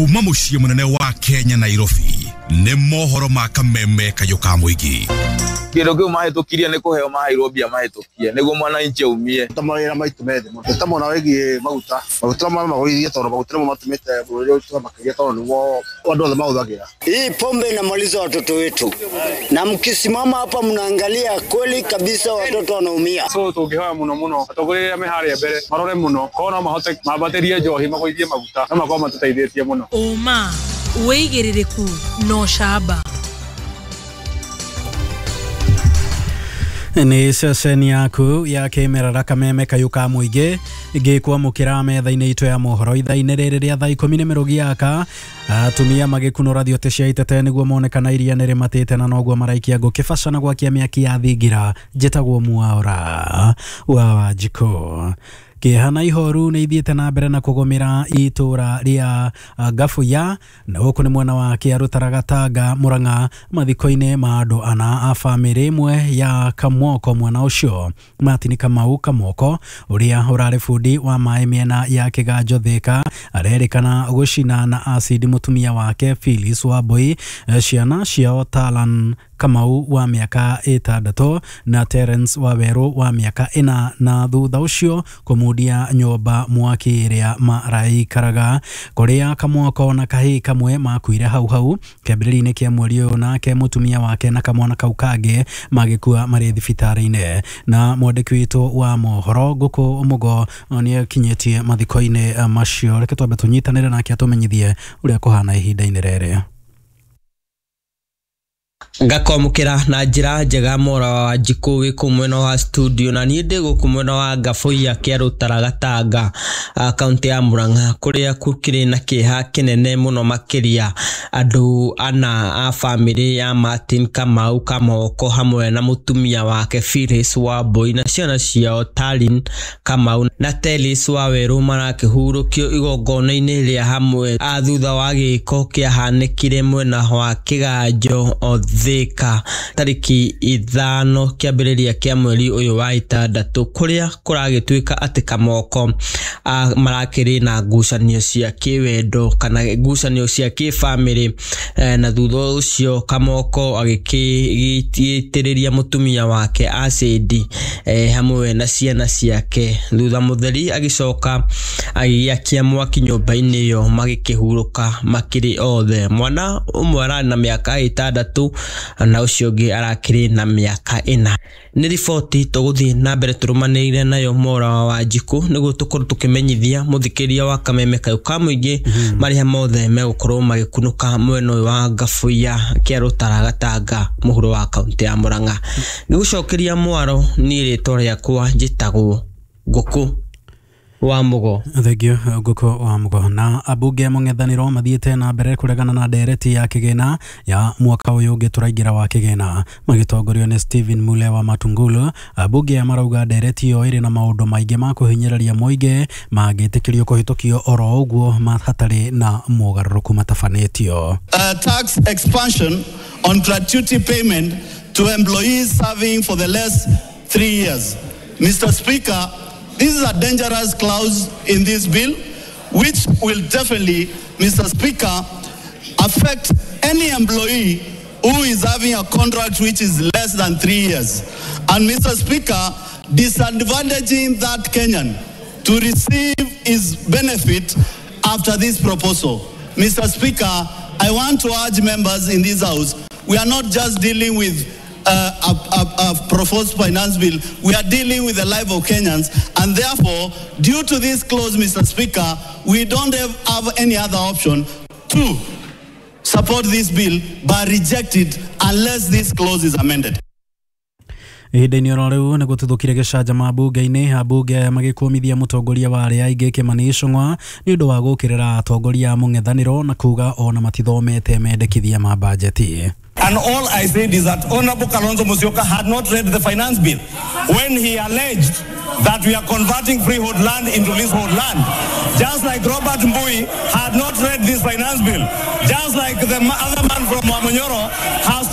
Kuma mũciĩ mũnene wa Kenya Nairobi nĩ mohoro ma kameme kayũ ka mũingĩ. Kĩndũ kĩu mahĩtũkirie nĩ kũheo maheirwo mbia mahĩtũkie nĩguo mwananchi aumie. Ta mawĩra maitũ me thĩ mũno. Ta mwena wĩgiĩ maguta, maguta magũithie tondũ maguta nĩmo matũmĩte bũrũri ũyũ makĩria tondũ nĩmo andũ othe mahũthagĩra. Hii pombe inamaliza watoto wetu, na mkisimama hapa mnaangalia kweli kabisa watoto wanaumia. So tũngĩhoya mũno mũno atongoria arĩa me harĩa mbere marore mũno korwo no mahote mambatĩrie njohi magũithie maguta no makorwo matũteithĩtie mũno. Ũma, wĩigĩrĩrĩku na ũcamba. Nĩ ceceni yaku ya kĩmerera kameme kayũ ka mũingĩ ngĩkwamũkĩra metha-inĩ itũ ya mohoro ithaa-inĩ rĩrĩ rĩa thaa ikũmi nĩ mĩrũgi yaka. Atumia magĩkunũra thiote cia itete nĩguo mone kana iria nĩ rĩmatĩte na noguo maraikia ngũ kĩbaca na gwakia mĩaki ya thingira. Njĩtagwo Mwaura wa Wanjikũ. Kĩeha na ihoru nĩ ithiĩte na mbere na kũgũmĩra itũra rĩa Gabuya na gũkũ nĩ mwena wa Kĩarũtara Gatanga Mũrang'a mathiko-inĩ ma andũ ana a bamĩrĩ ĩmwe ya Kamwoko. Mwena ũcio Martin Kamau Kamwoko ũrĩa ũrarĩ bundi wa maĩ mĩena ya Kĩganjo Thĩka arerĩkana gũcina na acidi mũtumia wake Phyllis Wambui, ciana ciao Talan Kamau wa mĩaka 6 na Terence Wawerũ wa mĩaka 4 na thutha ũcio kũmundia nyũmba mwaki ĩrĩa maraikaraga. Kũrĩa Kamwoko na kahĩĩ kamwe makuire hau hau kĩambĩrĩria-inĩ kĩa mweri ũyũ, nake mũtumia wake na kamwana kau kangĩ magĩkua marĩ thibitarĩ-inĩ. Na mwandĩki witũ wa mohoro Ngũkũ Mũgo nĩakinyĩtie mathiko-inĩ macio. Reke twambe tũnyitanĩre nake atũmenyithie ũrĩa kũhana ihinda-inĩ rĩrĩ. Ngakwamũkĩra na njĩra njega Mwaura wa Wanjikũ wĩ kũu mwena wa studio na niĩ ndĩ gũkũ mwena wa Gabuya Kĩarũtara Gatanga kaunti ya Murang'a kũrĩa gũkĩrĩ na kĩeha kĩnene mũno makĩria. Andũ ana a bamĩrĩ ya Martin Kamau Kamoko hamwe na mũtumia wake Phyllis Wambui na ciana ciao Talin Kamau na Telis Wawerũ marakĩhurũkio igongona-inĩ rĩa hamwe thutha wa gĩko kĩahanĩkire mwena wa Kĩganjo Thĩka tarĩki 5 kĩambĩrĩria kĩa mweri ũyũ wa 6 kũrĩa kũragĩtuĩka atĩ Kamoko marakĩrĩ na ngucanio cia kĩwendo kana ngucanio cia kĩbamĩrĩ, na thutha ũcio Kamoko agĩkĩitĩrĩria mũtumia wake acidi hamwe na ciana ciake. Thutha mũtheri agĩcoka agĩakia mwaki nyũmba-inĩ ĩyo magĩkĩhurũka makĩrĩ othe. Mwana ũmwe ararĩ na mĩaka 6 na ũcio ũngĩ arakĩrĩ na mĩaka 4. Nĩ riboti tũgũthiĩ na mbere tũrũmanĩrĩire nayo Mwaura wa Wanjikũ nĩguo tũkorwo tũkĩmenyithia mũthikĩria wa kameme kayũ ka mũingĩ marĩa mothe megũkorwo magĩkunũka mwena ũyũ wa Gabuya Kĩarũtara Gatanga mũhuro wa kaunti ya Murang'a. Nĩgũcokeria mwaro, niĩ rĩtwa rĩakwa njĩtagwo Ngũkũ wa Mũgo. Thengio Ngũkũ wa Mũgo. Na ambunge mũng'ethanĩro mathiĩte na mbere kũregana na ndereti ya kĩgĩna ya mwaka ũyũ ũngĩ tũraingĩra wa kĩgĩna magĩtongorio nĩ Stephen Mule wa Matungulu. Ambunge aya marauga ndereti ĩyo ĩrĩ na maũndũ maingĩ ma kũhinyĩrĩria mũingĩ mangĩtĩkĩrio kũhĩtũkio oro ũguo hatarĩ na mogarũrũku matabanĩtio. Tax expansion on gratuity payment to employees serving for the last 3 years. Mr. Speaker, this is a dangerous clause in this bill, which will definitely, Mr. Speaker, affect any employee who is having a contract which is less than 3 years. And Mr. Speaker, disadvantaging that Kenyan to receive his benefit after this proposal. Mr. Speaker, I want to urge members in this house, we are not just dealing with a proposed finance bill, we are dealing with the life of Kenyans, and therefore, due to this clause, Mr. Speaker, we don't have any other option to support this bill but reject it unless this clause is amended. Ihinda-inĩ oro rĩu nĩ gũtuthũkire gĩcanjama mbunge-inĩ, ambunge aya magĩkũmithia mũtongoria wa arĩa aingĩ Kĩmani Ichung'wa nĩ ũndũ wa gũũkĩrĩra atongoria a mũng'ethanĩro na kuga ona matithomete mendekithia ma bajeti. And all I said is that Honorable Kalonzo Musyoka had not read the finance bill when he alleged that we are converting freehold land into leasehold land. Just like Robert Mbui had not read this finance bill. Just like the other man from Wamunyoro has